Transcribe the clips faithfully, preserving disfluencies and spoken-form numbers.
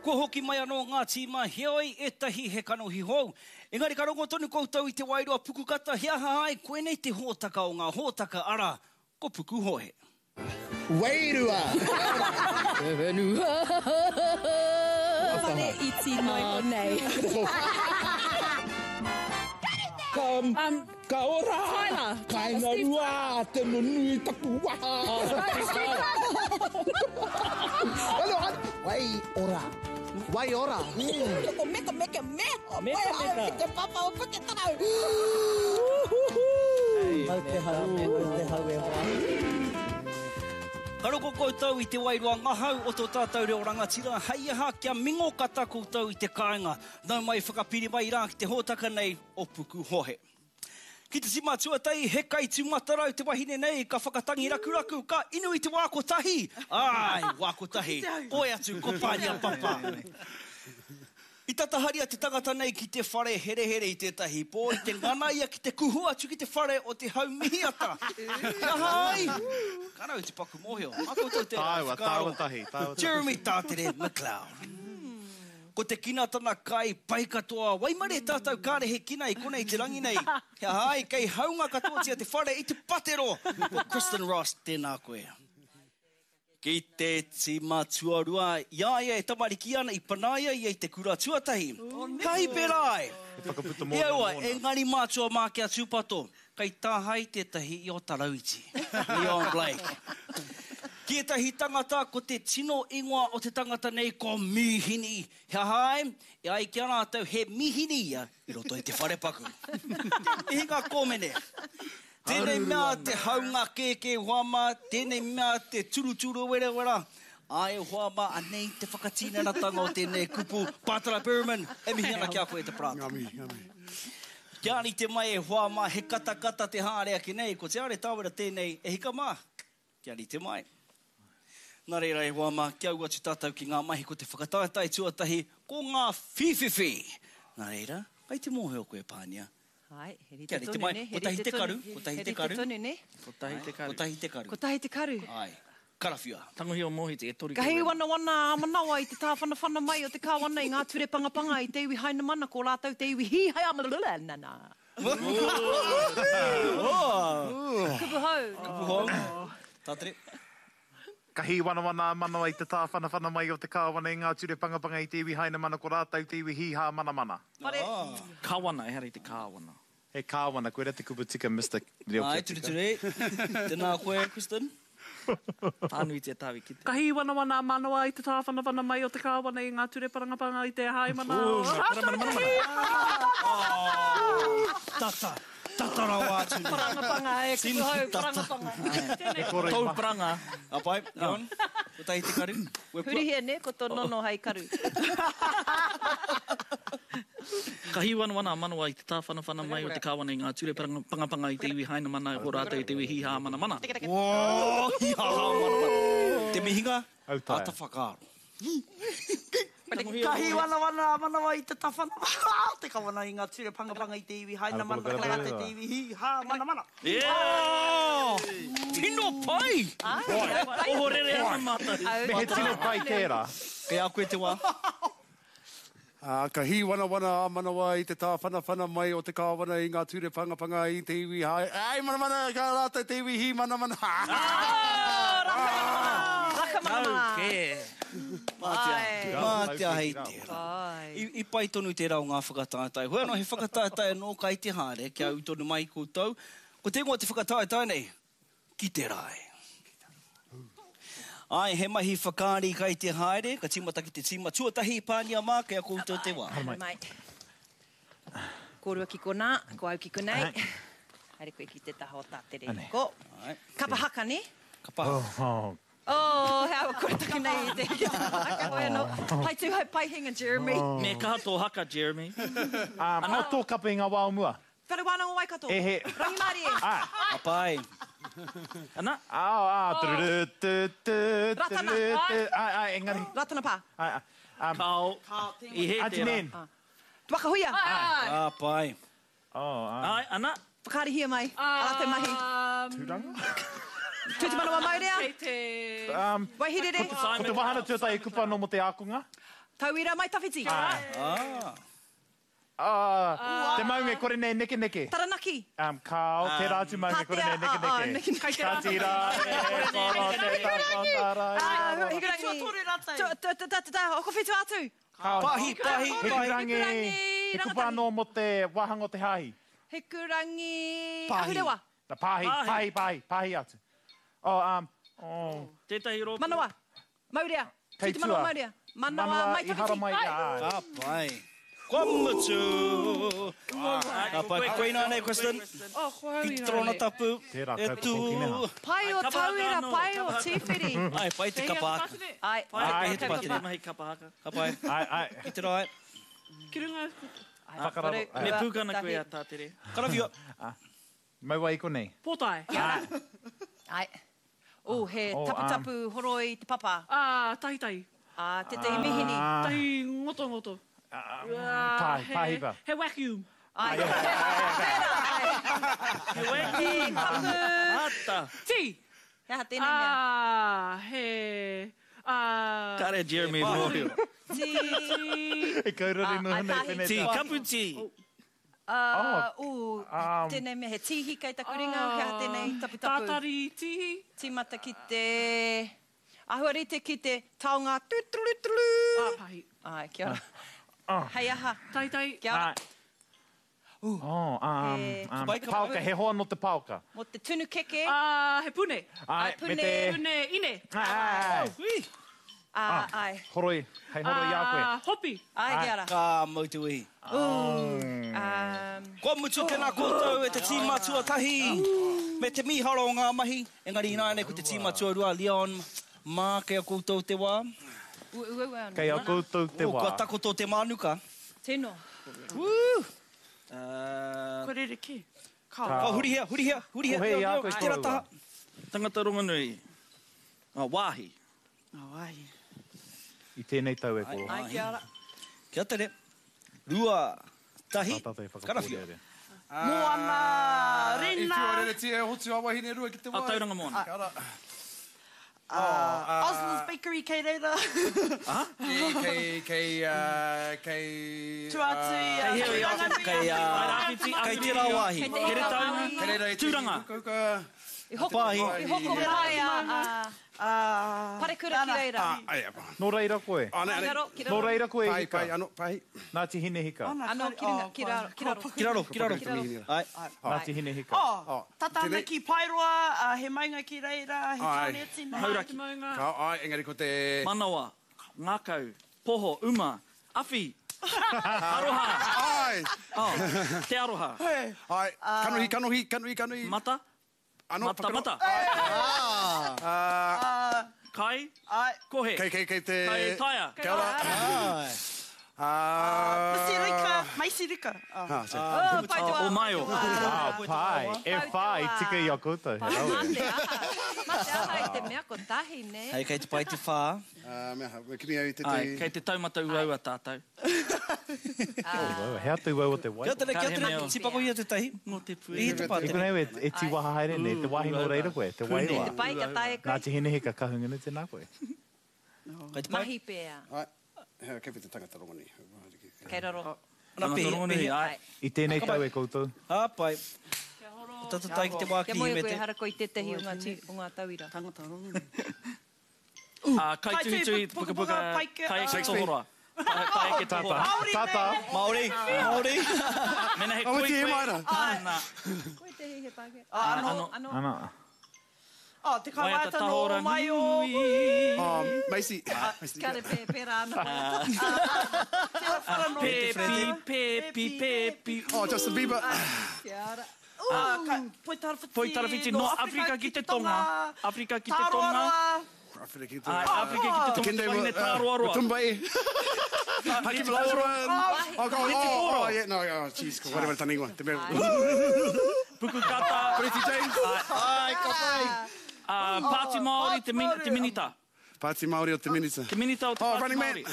Kua hoki mai anō ngā tīma, heoi ētahi he kanohi hou. Engari ka rongo tonu koutou i te wairua pukukata, he aha ai, koinei te hōtaka o ngā hōtaka, arā, ko Pukuhohe. Wairua! Te whenua! Whare iti noa iho nei. Ka, ka ora! Tyler. Kainga rua te nunui taku waha! Hello, Wai ora. Wai ora. Ko meka meka me. Meka meka. Ki te papa o Puketarau. Mau te hau, mau te hau e hoa. Ka roko koutou i te wairua ngahau o tō tātou reo rangatira, hei aha kia mingo kata koutou i te kāinga. Nau mai whakapiri mai rā ki te hōtaka nei o Pukuhohe. Ki te tima tuatahi, he kai tūmatarau te wahine nei, ka whakatangi rakuraku, ka inu i te wā kotahi. Ai, wā kotahi. Koe atu, ko Pānia Papa. I tataharia te tangata nei ki te whare herehere i tētahi pō, i te ngana ia ki te kuhu atu ki te whare o te Haumihiata. He aha ai? Ka rau te paku mōhio. Mā koutou tērā Tāua, whakaaro. tāua tahi, tāua tahi. Jeremy Tātere McLeod. Ko te kina tana kai pai katoa. Waimarie tātou kāre he kina i konei te rangi nei. He aha ai, kei haunga katoatia te whare i te patero. Ko Kristen Ross, tēnā koe. Ki te tima tuarua, i a ia e tamariki ana i panaia ia i te kura tuatahi. Ka hipe rā e! He whakaputa E mōna aua, mōna. engari mātua mā kia tūpato, kei tāhae tētahi i o Tarauiti. Leon Blake. Ki ētahi tangata, ko te tino ingoa o te tangata nei ko Mīhini. He aha ai? E ai ki a rātou, he mīhini ia i roto i te wharepaku. Te mihinga kōmene. Tēnei mea te haunga kēkē hoa mā, tēnei mea te turuturu werewera. Ai hoa mā, anei te whakatinanatanga o tēnei kupu. Pātara Berman, e mihi ana ki a koe te parata. Ngā mihi, ngā mihi. Kia rite mai e hoa mā, he katakata te haere ake nei, ko Te Are Tāwera tēnei e hika mā. Kia rite mai. Nā reira e hoa mā, kia ū atu tātou ki ngā mahi ko te whakataetae tuatahi, ko ngā whīwhiwhi. Nā reira, kai te mōhio koe Pānia. Ai, he rite Kia rite tonu, mai, ne? He kotahi rite te karu, tonu. kotahi He te rite karu. tonu, ne? Kotahi te karu. Kotahi te karu. Kotahi te karu. Ai, karawhiua. Tangohi o Mohiti, e toru Ka te hī wera. wanawana a manawa i te tāwhanawhana mai o te kāwana i ngā ture pangapanga i te iwi Hainamana, ko rātou te iwi hī hai a nana. Kupu hou. Kupu hou. Tātere. Ka hī wanawana a manawa i te tāwhanawhana mai o te kāwana i ngā ture pangapanga i te iwi Hainamana, ko rātou te iwi hīhā manamana. Whare. Kawana, ehara i te kāwana. He kāwana, koe rā te kupu tika, Mister Reo Ai, Kia Tika. ture ture. Tēnā koe, Kristen. Pānuitia tāu i kite. Ka hī wanawana a manawa i te tāwhanawhana mai o te kāwana i ngā ture parangapanga i te haimana. Ooh, manamana. Tata, tata rawa atu nei. Parangapanga, e, kupu hou, parangapanga. He kore Tau maha. paranga. A pai, Leon, kotahi te karu. Wepua. Hurihia, ne, ko tō nono hei karu. Ka hī wanawana a manawa i te tāwhanawhana mai o te kāwana i ngā ture pangapanga i te iwi Hainamana, ko rātou te iwi hīhā manamana. Wō, hīhā manamana. Te mihinga, Autaia. āta whakaaro. Ka hī wanawana a manawa i te tawhana te kawana i ngā ture pangapanga i te iwi Hainamana, ko rātou te iwi hīhā manamana. Yeah! Tino pai! Ohorere ana mātou. Me he tino pai tērā. Kei a koe te wā. Ā, ka hī wanawana a manawa i te tāwhanawhana mai o te kāwana i ngā ture pangapanga i te iwi hai. Ai, manamana, ka rātou te iwi hī manamana. Raka manamana. Kē. Mātea, Ai. mātea hei tērā. Ai. I, i pai tonu tērā o ngā whakataetae. Hoi anō, he whakataetae anō kai te haere, kia ū tonu mai koutou. Ko te ingoa te whakataetae nei, ki te rae. Ai, he mahi whakaari kai te haere, ka tīmata ki te tīma tuatahi, Pānia mā, kei a koutou te wā. Haere mai. Kōrua ki konā, ko au ki konei. Haere koe ki te taha o Tātere. Ko. Ai. Kapa haka, ne? Kapa haka. Oh, Oh, he awa kore take nei i te kapa haka hoi anō. Pai tū hei paihinga, Jeremy. Me kaha tō haka, Jeremy. Um, oh, tō kapa i ngā wā o mua. Whare wānanga o Waikato. E he. Rangimārie. Ai. Ka pai. Ana. Ah, ah, turu, tu, tu, Ratana. turu, tu. Ai, ai, engari. Ratana pā. Ai, ai. Um, Kao. I he Auntie tērā. Nen. Waka huia. Ka pai. Oh, ai. Ai, ana. Whakaarihia mai. A rātou mahi. Tūranga? Tū te manawa maurea. Kei te... Um, Waihirere. ko te wahana tuatahi kupa anō mō te ākonga. Tauira mai tawhiti. Ah. Ah, te maunga e kore nei neke neke. Taranaki. Um, kao, te rā atu maunga e kore nei neke neke. Ka tira, e koro te takotara. Hikurangi. Tuatoru rātou. Oko whitu atu. Pahi, pahi, Hikurangi. He kupa anō mō te wāhanga o te hāhi. Hikurangi. Ahurewa. Pahi, pahi, pahi, pahi atu. Oh, um, oh. Tētahi rōpū. Manawa. Maurea. Kei Tū te manawa tua. maurea. Manawa mai i hara tawhiti. mai. Ka pai. Kua mutu. Ka pai. Koe nā nei, Kristen. Oh, ko au Ki i te torona tapu. Tērā E kaupapa tū. hoki neha. Pai o tauira, pai o tīwhiri. Ai, pai te kapa haka. Ai, Ai, Pai te te mahi kapa haka. Ka pai. Ai, ai. Ki te rai. Ki runga. Whakararo. Me pūkana koe a tātere. Karawhio. Maua i konei. Pōtae. Ai. Oh, he Oh, taputapu horoi te papa. Ah, tahi tahi. Ah, tētahi mihini. Tahi ngoto ngoto. Pahi, pahipa. He vacuum. Ai. Tērā, ai. He vacuum. He kapu. Ata. Tī. He aha tēnei mea. Ah, he... Ah... Kare Jeremy mōhio. Tī. E kaurare Ah, noa ai, nei pahi. pene Tī, tā. kapu tī. Ah, ū, Um, tēnei mea, he tīhi kei taku ringa, he aha tēnei taputapu. Tātari tīhi. Tīmata ki te... Ahua rite ki te taonga tūturu turu. Ah, pahi. Ai, kia ora. Hei aha. Tahi tahi. Kia ora. Ai. Oh, um, He- um, Kapai, kapai. paoka, he hoa no te paoka. Mō te tunu keke. Ah, he pune. Ai, Ai, me pune. te... Pune ine. Ai, Hui. Ah, ai. horoi, hei horoi i a koe. Ah, hopi. Ai, kia ora. Ka mau te wehi. Um, Kua mutu tēnā koutou e te tīma tuatahi. Me te miharo o ngā mahi. Engari ināianei ko te tīma tuarua, Leon, mā kei a koutou te wā. ua, ua, ua, Kei a koutou te O, wā. kua takoto te mānuka. Tino. Woo! Kua rere kē. Ka. Ka hurihia, hurihia, hurihia. Ko hei a koe Ki tērā koroua. taha. Tangata rongonui. Ah, wāhi. Oh, ai. I tēnei tau e koro. Ai, kia ora. Kia tere. Rua, tahi, Tā tātou e karawhio. whakapōrearea. Moana, I Rena. whiua reretia e hotu a wahine rua ki te wai. A Tauranga Moana. Kia ora. Ah, Osler's Bakery kei reira. Kei, kei, kei, uh, kei... Tuatu i a Kei hea i Tūranganui. Kei, ah, Rāwhiti, kei tērā wāhi. Kei te Heretaunga. Kei reira i te Tūranga. hukahuka. I hoko, Pahi. i hoko pai a, a Ah, parekura ki reira. Ah, ai, ai. Nō reira koe. Ane, Ki ane. raro, ki Nō raro. reira koe Pai, hika. pai, ano, pai. Ngāti Hine hika. Ano, ki runga, ki raro, ki raro. Ki raro, ki raro. Ki raro. Ai. Ngāti Hine hika. Oh, Oh, tata ana tēnei. ki Paeroa, ah, he maunga ki reira, he Ai. tāne tina. Hauraki. Maunga. Ka, ai, engari ko te... Manawa. Ngākau. Poho. Uma. Awhi. Aroha. Ai, Oh, te aroha. ai. Kanohi, kanohi, kanohi, kanohi. Mata. Ano, Mata, whakaro- mata. Ah, Kai. Ai. Kohe. kei, kei, kei te... Kai taia. Kia ora. Ai. Ah... Masirika, Maisirika. Oh. Ah, sorry. Oh, pai te wā. O maio. Ah, pai. E whā i tika i a koutou. He rawe. Mā te aha. Mā te aha i te mea kotahi, ne? Hei, kei te pai te whā. Ah, mea, me kimi au i te Ai, te... kei te taumata uaua tātou. Uaua, He atu uaua te wai. Kia tere, kia Ka he tere. mea. Tipako ia te tahi. Ngō te pue. I te I pātere. konei e, e tīwaha haere nei, te wāhi nō reira koe, te wairoa. Te pai ka tae koe. Ngāti Hine hika kahungunu tēnā koe. Kei te pai. Mahi pēa. Ai, hea, kei te tangata rongonui. Kei raro. Ana, Tangata pehia, rongonui, pehia. ai. I tēnei tau e koutou. Ha, pai. Tata tai ki te wā Kia ki moe koe himete. hara koe i tētahi o ngā, tī, o ngā tauira. Tangata rongonui. Ah, kai tuitui, Kai pukapuka, pukapuka, paike, kai eke Shakespeare. tohora. Kai kai eke tohora. Tata. Māori, Māori. Mena he Oh, koi te koe. maira. Nā, Koe te he Pākehā. Ah, ano. ano. Ano. Ana. Oh, te Waiata kaiwaiata no tahora o mai o. nui. Oh, Macy. Kare pē, pērā anō. Pepi, pepi, pepi. Oh, Justin Bieber. Kia ora. Ah, ka- Poitarawhiti. Poitarawhiti, no Afrika ki te Tonga. Afrika ki te Tonga. Tāroaroa. Afrika ki te Ai, Afrika ki te Tonga. Te wahine tāroaroa. Tumbai. Hakim Olajuwon. Oh, God. Oh, oh, yeah. No, oh, jeez. Whatever tana ingoa. Te mea. Pukukata. Pretty James. Ai, ka pai. Ah, Pāti Māori, te min- te minita. Pāti Māori o te minita. Te minita o te Oh, Pāti Running Man. Māori.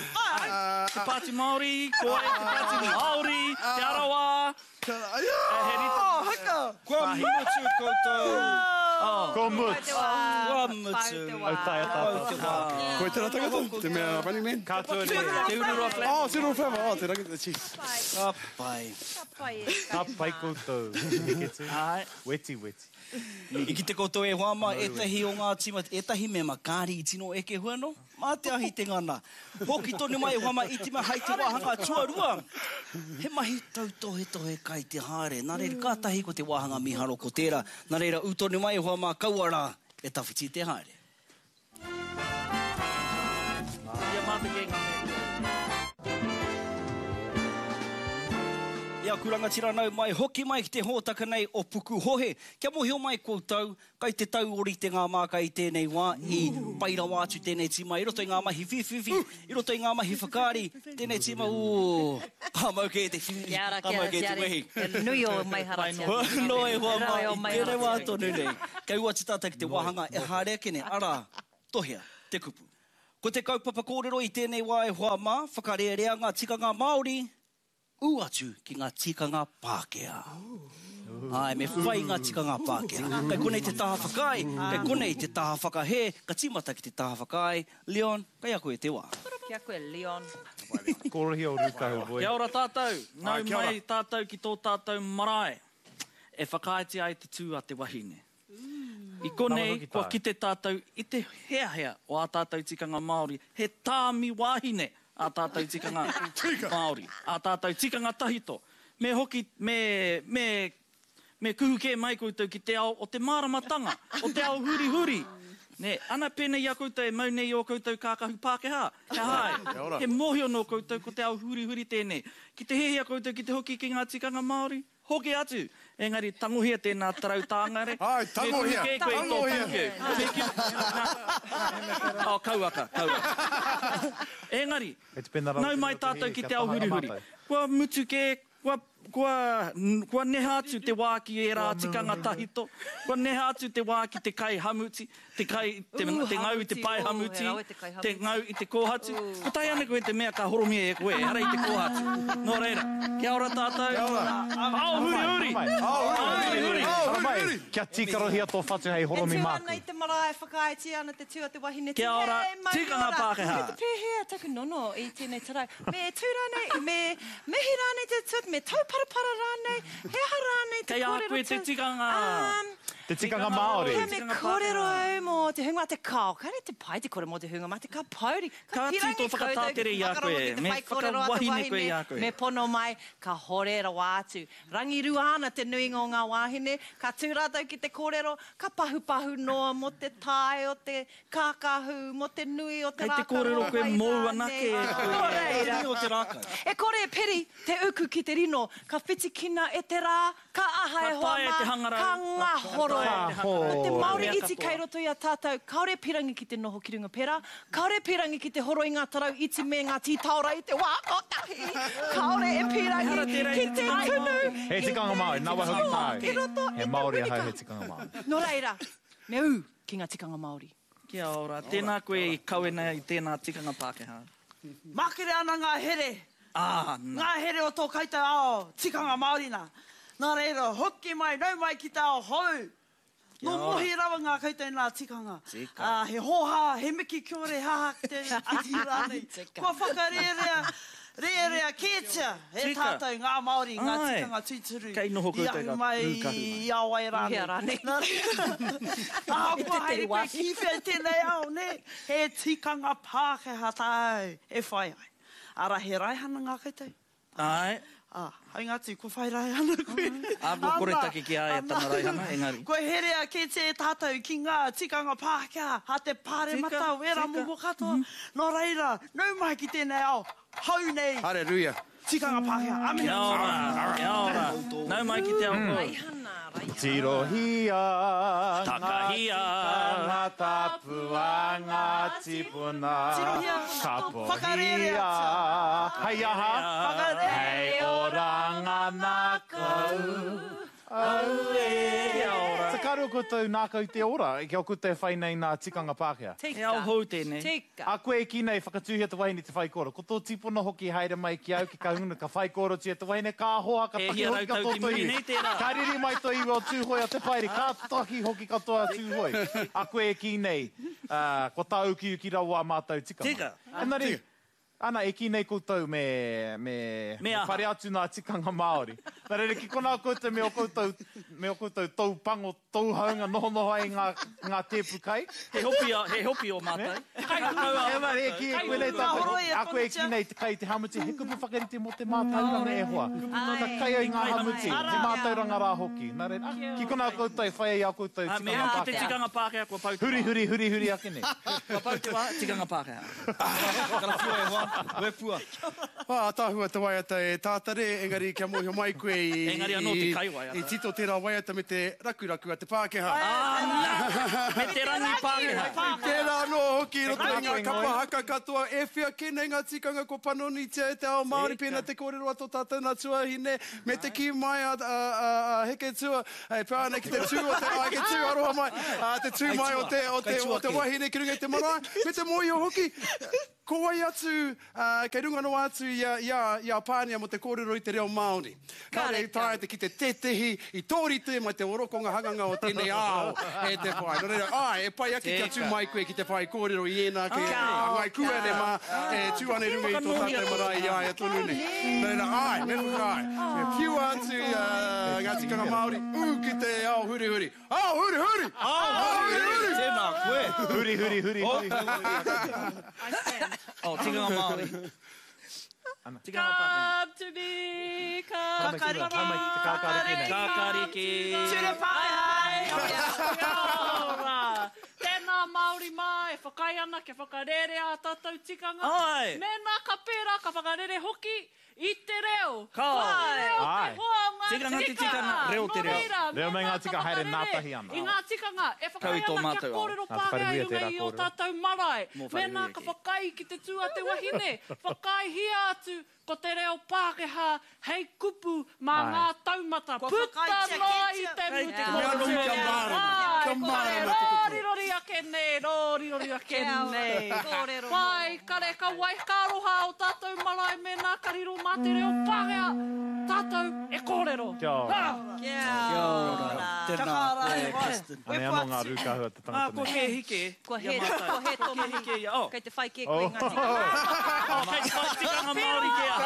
Te Pāti Māori, koe, te Pāti Māori, Te Arawa. Ai, He rite. Oh, haka. Kua mutu koutou. Ko mutu. Kua mutu. Au taea tātou. Koe tērā tangata? Te mea Running Man? Katoa Te Ururoa Flavor. Oh, Te Ururoa Flavor. Oh, te rangi, jeez. Ka pai. Ka pai e. Ka pai koutou. Heke tū. Ai. Weti, weti. I ki te koutou e hoa mā, ētahi o ngā tīma, ētahi mema kāri i tino eke hua no? Mā te ahi te ngana. Hoki tonu mai e hoa mā, i tima hai te wāhanga tuarua. He mahi tautohetohe kai te haere. Nā reira, kātahi ko te wāhanga miharo ko tērā. Nā reira, ū tonu mai e hoa mā, kaua rā e tawhiti te haere. Ia mā te kē ngā mea. I aku rangatira nau mai, hoki mai ki te hōtaka nei o Pukuhohe. Kia mōhio mai koutou, kai te tauori te ngā māka i tēnei wā, i pai rawa atu tēnei tīma, i roto i ngā mahi whiwhiwhi, i roto i ngā mahi whakaari, tēnei tīma, ū, ka mau kē te whiwhi, Kia ora, ka kia mau ora, kē te kia wehi. ora. Nui o maiharatia. No e hoa mā, Rawe o i tēnei wā maiharatia. tonu nei. Kei uati tātou ki te wāhanga e haere ake nei, arā, tohea, te kupu. Ko te kaupapa kōrero i tēnei wā e hoa mā, whakarērea ngā tikanga Māori, ū atu ki ngā tikanga Pākehā. Ai, me whai ngā tikanga Pākehā. Kei konei te taha whakaae, kei konei te taha whakahē, ka tīmata ki te taha whakaae. Leon, kei a koe te wā. Kia koe, Leon. Kōrohi o Rūkahu, boy. Kia ora tātou. Nau Ai, kia ora. mai tātou ki tō tātou marae. E whakaaetia ai te tū a te wahine. I konei, Nama hoki kua tāu. kite tātou i te heahea o ā tātou tikanga Māori. He tāmi wāhine ā tātou tikanga Māori. Ā tātou tikanga tahito. Me hoki, me, me, me kuhu kē mai koutou ki te ao o te māramatanga, o te ao hurihuri. Ne, ana pēnei i a koutou e mau nei i o koutou kākahu Pākehā. Kia hai, he mōhio nō koutou ko te ao hurihuri tēnei. Ki te hehia koutou ki te hoki ki ngā tikanga Māori, hoki atu. Engari, tangohia tēnā tarau tāngare. Ai, tangohia, Me kuhu kē koe i tō tangohia. puke. Me ki- Nā. Oh, kauaka, kauaka. Engari, E te pēnā rawa nau mai te mea tātou ki kia te ao taha hurihuri. mātou. Kua mutu kē, kua, kua, kua neha atu te wā ki ērā tikanga tahito. Kua neha atu te wā ki te kai hamuti, te kai, te, Ū, te ngau i te hamuti, pae ū, hamuti, he rawe te kai te hamuti. ngau i te kōhatu. Ko tae ana koe te mea ka horomia e koe, ehara i te kōhatu. Nō reira, kia ora tātou. Kia ora. Ao hurihuri! Ao hurihuri! Ao Haramai, hurihuri! kia tīkarohia tō whatu hei E horomi tū māku. ana i te marae, whakaaetia ana te tū a te wahine. Kia ora, Hei, mauri tikanga ora. Pākehā. Me te pēhea taku nono i tēnei tarau. Me tū rānei, me mihi rānei te tū, me tauparapara rānei, he aha rānei te Kei a kōrero koe te tū. tikanga. Um, Te tikanga Māori. Kia me kōrero au mō te hunga te kao. Kāre te pai te kore mō te hunga mā te ka pauri. Ka tū pirangi tō whakatātere i a koutou koe. ki te Me whai kōrero a te whakawahine koe i a koe. Me pono mai, ka hore rawa atu. Rangirua ana te nuinga o ngā wāhine, ka tū rātou ki te kōrero, ka pahupahu noa mō te tae o te kākahu, mō te nui o te Kei te rākau kōrero o koe wai mōu rānei. anake e koe. Nō reira. Nui o te rākau. E kore e peri te uku ki te rino, ka whitikina e te rā, ka aha Ka e hoa taea mā, te hangarau. ka ngahoro. Ka taea te hangarau. Ko te Māori Mea iti katoa. kei roto i a tātou, kāore pirangi ki te noho ki runga pera, kāore pirangi ki te horo i ngā tarau iti me ngā tītaora i te wā kotahi, kāore e pirangi Ehara tērā i ki te te tikanga tunu. Māori. He tikanga Māori, nā wai hoki tāu. I roto He i te Māori ahau winika. he tikanga Māori. Nō reira, me ū ki ngā tikanga Māori. Kia ora, tēnā koe i kawena i tēnā tikanga Pākehā. Makere ana ngā here. Ah, nā. Ngā here o tō koutou ao, tikanga Māori nā. Nā reira, hoki mai, nau mai ki te ao hou. Nō ora. mohi rawa ngā koutou nā tikanga. Tika. Ah, he hōhā, he miki kiore, haha ki te ati rānei. Kua whakarērea, rērea kētia e Tika. tātou ngā Māori, ngā Ai. tikanga tūturu. Kei noho I koutou ahu ngā mai rūkahu mai. i a wai rānei. Hea rānei. Nā reira, ahakoa haere koe ki whea i tēnei ao, nē? He tikanga Pākehā tāu e whai ai. Ara he raihana ngā koutou. Ai, Ah, haunga atu, ko whai raihana koe. Ā, ko kore take ki a ia tana raihana, engari. Ko herea kē te tātou ki ngā tikanga Pākehā, a te pāremata, Tika, wera tika. momo katoa. Nō reira, nau mai ki tēnei ao, hau nei, Hallelujah. tikanga Pākehā. Amine. Kia ora, kia ora. Nau mai ki te ao hou. Raihana, raihana. Tirohia, Takahia. ngā tapu a ngā tipuna. Tirohia, Kapohia, whakarērea. hei aha, Whakarērea. hei oranga nā kau. Aue! Kia ora. Te karo koutou nākau te ora, kia koutou e whai nei nā tikanga Pākehā. Tika. He ao hou tēnei. Tika. A koe e kī nei whakatūhia te wahine te whaikōrero. Ko tō tipuna hoki haere mai ki au ki Kahungunu, ka whaikōrerotia te wahine, ka hoa, ka E taki hia hoki rau tau katoa ki tō muri iwi. nei tērā. Ka riri mai tō iwi o Tūhoe a Te Paere, ka taki hoki katoa a Tūhoe. A koe e kī nei, uh, ko tāukiuki rawa a mātou tikanga. Tika. Engari, ana, e kī nei koutou me, me, Me me aha. pare atu nā tikanga Māori. Nā reira, ki konā koutou me o koutou, me o koutou tau pango, tau haunga noho noho ai ngā, ngā tēpu kai. He hopi, a, he hopi o mātou. Kai kau a E mare, e kī e koe nei tātou. A koe e kī nei te kai te hamuti, he kupu whakarite mō te mātauranga e hoa. Ka kai ai ngā hamuti, te mātauranga rā hoki. Nā reira, ah, ki konā koutou e whai ai a koutou Ah, me tikanga hoki te Pākehā. tikanga Pākehā kua pau te Huri, wā. huri, huri, huri ake nei. Kua pau te wā, tikanga Pākehā. Karawhiua e hoa, wepua. Ah, tāhua te waiata e tātare, engari kia mōhio mai koe i, Engari anō te kai waiata. i tito tērā waiata me te rakuraku a te Pākehā. Ah, nā! Me te rangi Pākehā. Tērā anō hoki i roto i ngā kapa haka katoa, e whia kē nei ngā tikanga ko panonitia e te ao Māori, pēnā te kōrero a tō tātou nā tuahine, me te kī mai a, a, a, a Heketua, e pā ana ki te tū o te, ai, ke tū aroha mai, a, te tū mai o te, o te, o te wahine ki runga i te marae, me te mōhio hoki, ko wai atu, uh, kei runga noa atu i a, i a, i a Pānia mō te kōrero i te reo Māori. Kāre i taea te ki te tētehi i tōrite mai te orokonga hanganga o tēnei ao e te whai. Nō reira, ai, e pai ake kia tū mai koe ki te whai kōrero i ēnā ke ngai kuene mā e tū ane runga i tō tātou marae i aia tonu nei. Nō reira, ai, me whakaae. Me whiua atu uh, ngā tikanga Māori, ū ki te ao hurihuri. Ao hurihuri! Ao hurihuri! Tēnā koe. Huri, huri, huri, huri. I stand. Oh, tikanga Māori. Tikanga Pākehā. Come to me, come to Kakariki. Ka mai ki te kākāriki nei. Kākāriki. Ture Pākehā. Kia ora. Tēnā Māori mā e whakaae ana kia whakarere a tātou tikanga. Ai. Mēnā ka pērā ka whakarere hoki i te reo. Ka. Ko te reo te Ai. hoa o ngā Tikanga te tikanga, reo te Nō reo. reira, Reo me mēnā ngā ka tika haere whakarere ngātahi ana. I ngā tikanga e Kau i whakaae tō ana kia mātou ao. kōrero Nā te Pākehā i wharehuia runga tērā i o kōrero. tātou marae. Mō Mēnā wharehuia ka kē. whakaae ki te tū a te wahine, whakaaehia atu ko te reo Pākehā hei kupu mā Ai. ngā taumata. Kua Puta whakaaetia noa i kētia. te Kei te mutu. kōrero Kia Māori. mārama, Ai, kia ko te mārama te kupu. rōrirori ake nei, rōrirori ake Kia ora, nei. kōrero Pai, kare ka wai ka aroha o tātou marae mēnā ka riro mā te reo Pākehā, tātou e kōrero. Kia ora. Ah! Kia ora. Tēnā koe, Kirsten. Anei anō ngā rūkahu a te Ah, tangata kua nei. kē hike. Kua i a hē, mātou. kua hē tō Kua kē mahi. hike ia. Oh. Kei te whai kē koe i ngā Oh. tikanga. Oh, kei te whai tikanga Māori ke ahau.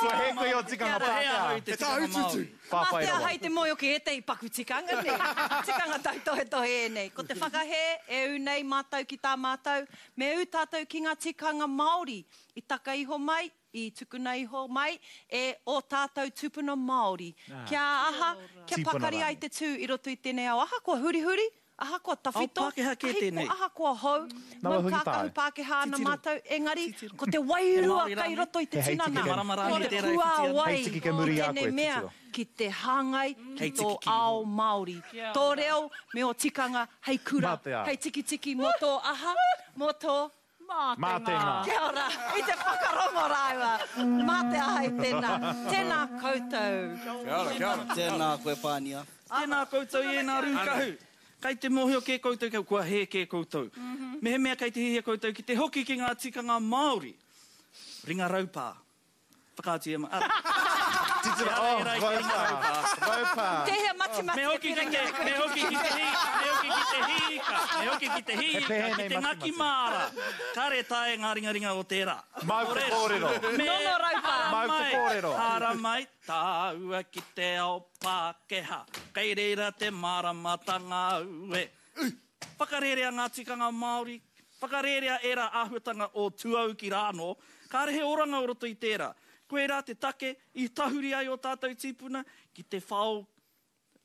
Kua hē koe o tikanga Kua hē ahau i Pākehā. te Te tikanga tāututu. Māori. Whāwhai Mā te rawa. aha i te moe o ki ētehi paku tikanga nei. Tikanga tautohetohe e nei. Ko te whakahē e ū nei mātou ki tā mātou, me ū tātou ki ngā tikanga Māori. I taka iho mai, i tukuna iho mai, e o tātou tūpuna Māori. Kia aha, kia Tīpuna pakari ai rānei. te tū i roto i tēnei ao. Aha kua hurihuri, aha kua tawhito, Ao Pākehā kē ahi tēnei. ko- aha kua hou, Nawa mau hoki kākahu tāu. Pākehā ana Titiro. mātou, engari ko te wairua He Māori kai rānei? roto i te He hei tinana. tiki Marama Ko rānei te tērā e whiti ana. puāwai Hei tiki kei muri i a o tēnei koe, mea titiro. ki te hāngai ki Hei tō tiki ki ao Māori. Kia Tō ora. reo me o tikanga hei kura, Mā te ao. hei tikitiki mō tō aha, mō tō Mā Mā te tēnā. ngā. Kia ora, i te whakarongo rāua. Mā te aha i tēnā. Tēnā koutou. Kia ora, kia ora. Tēnā koe, Pānia. Tēnā koutou i ēnā rūkahu. Kei te mōhio kē koutou, kei kua hē kē koutou. Mehemea kei te hihia koutou ki te hoki ki ngā tikanga Māori. Ringa raupā. Whakaatu i a ma... Ah, Titiro, Ehara, oh, ehara i te ringa raupā. Raupā. Tēhea matimati Me e hoki ki te, me hoki ki te hī, me hoki ki te hīka, me hoki ki te hīka, He pēhea ki nei te ngaki matimati? māra. Kāre tae ngā ringaringa o tērā. Mau te kōrero. Me Nono raupā. Mau te mai, kōrero. Hara mai, tāua ki te ao Pākehā. Kei reira te māramatanga au e. Whakarerea ngā tikanga Māori, whakarerea ērā āhuatanga o tuau ki rāno, kāre he oranga o roto i tērā. Koe rā te take i tahuri ai o tātou tīpuna ki te whao,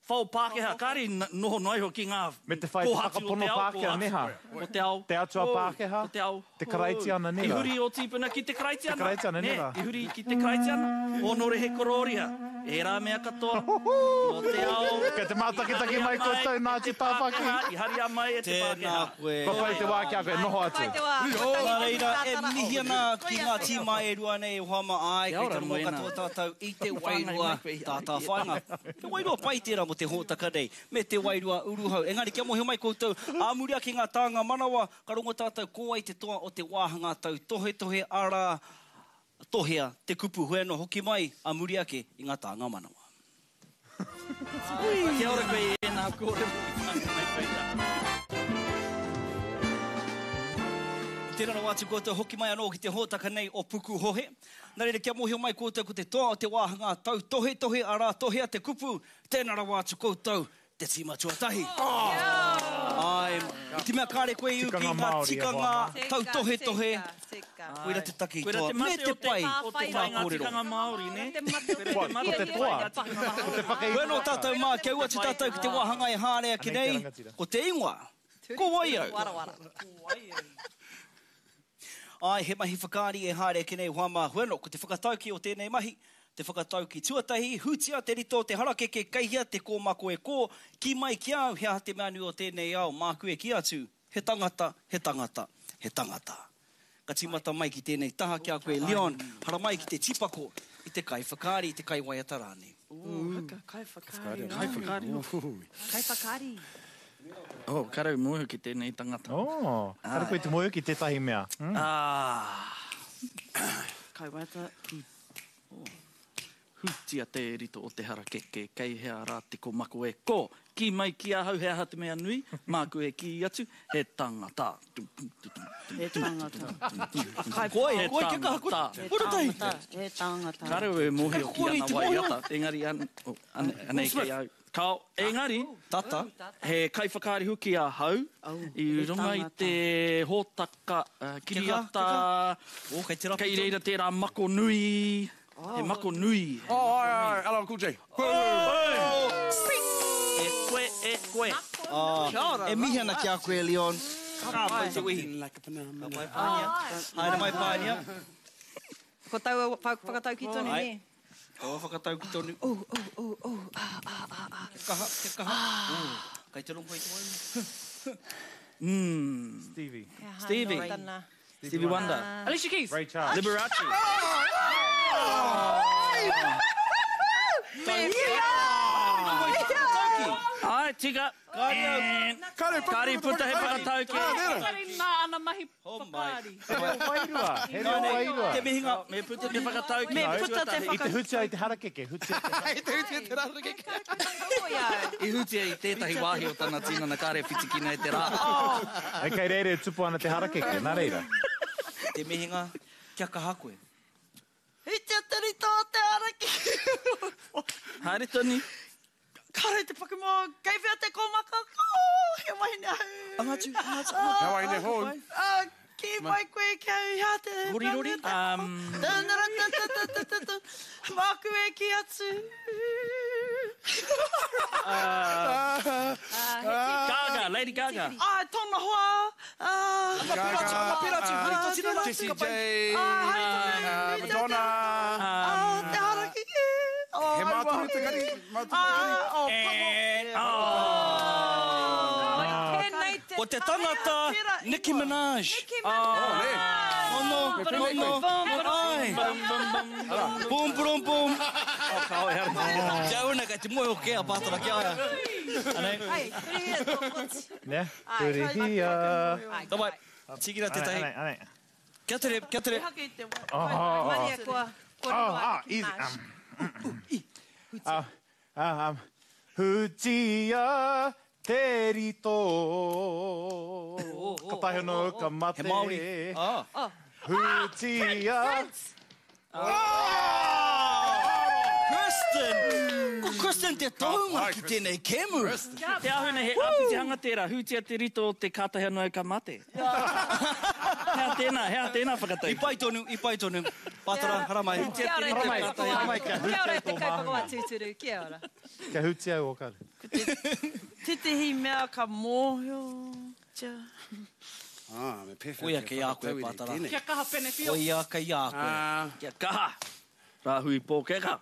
whao Pākehā. Kāre i noho noa iho ki ngā Me te whai te kōhatu o whakapono te ao Pākehā, kōhatu. neha. O te ao Te atua hou, Pākehā, o te ao te Karaitiana, hou. nera. I huri o tīpuna ki te Karaitiana. Te Karaitiana, Ne, nera. I huri ki te Karaitiana. Honore he kororia. Ērā mea katoa, nō te ao. Kei te mātakitaki mai koutou, Ngāti Tāwhaki. I haria mai e te Pākehā. Tēnā koe. Kua pai te wā ki a koe, noho atu. Nā reira, e mihi ana ki ngā tīma e rua nei e hoa mā, āe, kei te rongo katoa tātou i te wairua tātāwhāinga. He wairua pai tērā mō te hōtaka nei, me te wairua uruhau. Engari kia mōhio mai koutou, ā muri ake ngā tānga manawa, ka rongo tātou ko wai te toa o te wāhanga tautohetohe, arā, tohea te kupu, hoi anō hoki mai a muri ake i ngā tānga manawa. Kia ora koe i ēnā kōrero i whāngai mai koe i a. Tēnā rawa atu koutou, hoki mai anō ki te hōtaka nei o Pukuhohe. Nā reira, kia mōhio mai koutou ko te toa o te wāhanga tautohetohe, arā, tohea te kupu, tēnā rawa atu koutou, te tīma tuatahi. Ai, i te mea kāre koe i uki ngā tikanga tautohetohe, koira te take i toa, me te pai o te ngā kōrero. Tikanga Māori, ne? Ko te toa, ko te whakaingoa. Koe anō tātou mā, kia ua atu tātou ki te wāhanga e haere ake nei, ko te ingoa, ko wai au? Ai, he mahi whakaari e haere ake nei hoa mā, hoi anō, ko te whakatauki o tēnei mahi, te whakatauki tuatahi, hutia te rito o te harakeke, kei hea te kōmako e kō, ki mai ki au, he aha te mea nui o tēnei ao, māku e ki atu, he tangata, he tangata, he tangata. Ka tīmata mai ki tēnei taha ki a koe, Leon, haramai ki te tīpako, i te kai whakaari, i te kai waiata rānei. Kai whakaari. Kai whakaari. Kai whakaari. Oh, karau mōhio ki tēnei tangata. Oh, kare koe te mōhio ki tētahi mea. Ah. Kai waiata. Hutia te rito o te harakeke, kei hea rā te komako e kō. Ki mai ki ahau he aha te mea nui, māku e ki atu, he tangata. He tangata. Koe, koe kia kaha koe. He tangata, he tangata. Karau e mōhio ki ana waiata, engari anei kei au. Kao, engari, tata, he kaiwhakaari hoki ahau, i runga i te hōtaka kiriata, kei reira tērā mako nui, he mako nui. Oh, ai, ai, L L Cool J. E koe, e koe. E mihi ana ki a koe, Leon. Ka pai te wehi. Ka pai pānia. Haere mai pānia. Ko taua whakatauki tonu, ne? Taua whakatauki tonu. Oh, oh, oh, oh, ah, ah, ah, ah. Kia kaha, kia kaha. Kei te rongo i te wairua. Mm. Stevie. Stevie. Stevie Wonder. Alicia Keys. Ray Charles. Liberace. Ai, tika. Kāre puta he whakatauki. Kāre nā ana mahi whakaari. He reo wairua. He reo wairua. Te mihinga. Me puta te whakatauki. Me puta te I te hutia i te harakeke. Hutia te I te hutia i te harakeke. I hutia i tētahi wāhi o tana tinana kāre whitikina e te rā. E kei reira e tupu ana te harakeke, nā reira. Te mihinga, kia kaha koe. Hutia te rito o te harakeke. Haere toni. Kāre te pakumo, kei whea te kōmaka, oh, he wahine au. Anga atu, anga atu. He wahine hou. Ki mai koe ki au, hea te... Rori, rori. Māku e ki atu. Gaga, Lady Gaga. Ai, tōna hoa. Anga pera atu, anga pera atu. Hari tō tinana. Jessie J. Madonna. Te harakeke. He māturu te kari, māturu te kari. Ko te tangata, Nicki Minaj. Nicki Minaj. Ono, ono, ai. Boom, boom, boom. Kia una, kei te moe o kea, pātara ki aia. Anei. Ai, hurihia tō koti. Ne, hurihia. Tabai, tīkina tētahi. Anei, anei. Kia tere, kia tere. Maria, kua, kua Oh, riro a ah, Nicki easy. Minaj. Um, ah, um, hutia te rito. Ka tahi ono ka mate. He Māori. Ah. Hutia. Kristen! Ko Kristen te tohunga ki tēnei kēmu. Te ahuna he āpitihanga tērā, hutia te rito o te kātahi anō ka mate. Hea tēnā, hea tēnā whakatauki. I pai tonu, i pai tonu. Pātara, haramai. Kia ora te Haramai, haramai, kia Kia ora hutia te tō kaupapa māhunga. tūturu, kia ora. Kia hutia o kare. Tētehi mea ka mōhio. Tia. Ah, me pewhea. Koia kei a koe, Pātara. Kia kaha pene whio. Koia kei a koe. Kia kaha. Rāhui pōkeka.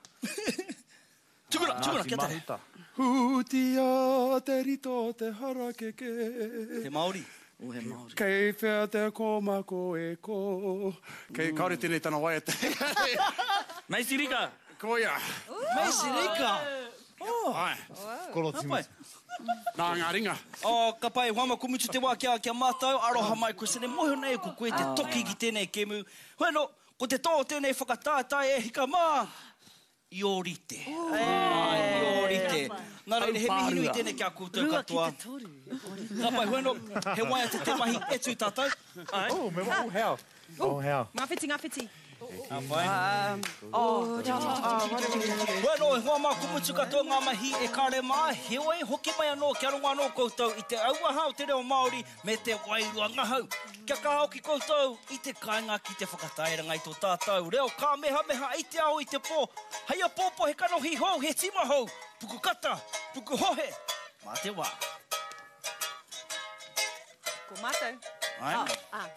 Tukuna, tukuna, kia tere. Hutia te rito te harakeke. Te Māori. Oh, he Māori. Kei whea te kōmako e ko. Kei, kaore tēnei tana waiata. Macy Rika. Koia. Macy Rika. Oh. Ai. Koro timu. Nā ngā ringa. Oh, ka pai, hoa ma kumutu te wā kia, kia mātau, aroha mai koe sene, mohi nei ko koe te toki ki tēnei kemu. Hoi anō, ko te tō tēnei whakatātai e hika mā, i ōrite. Ai, i ōrite. Nā reira, he mihi nui tēnei kia koutou katoa. Ka pai, hoi anō, he waiata te mahi e tū tātou. Ai. Oh, me wa, oh, how. Oh, how. Ngā whiti, ngā whiti. Ka pai. Hoi anō, hoa mā kumutu katoa ngā mahi e kare mā, heoi, hoki mai anō, kia rongo anō koutou i te auaha o te reo Māori me te wairua ngahau. Kia kaha hoki koutou i te kāinga ki te whakatairanga i tō tātou reo kāmehameha i te ao i te pō. Hei a pōpō he kanohi hou, he tima hou, pukukata, pukuhohe, mā te wā. Ko mātou. Ai. Ah, ah.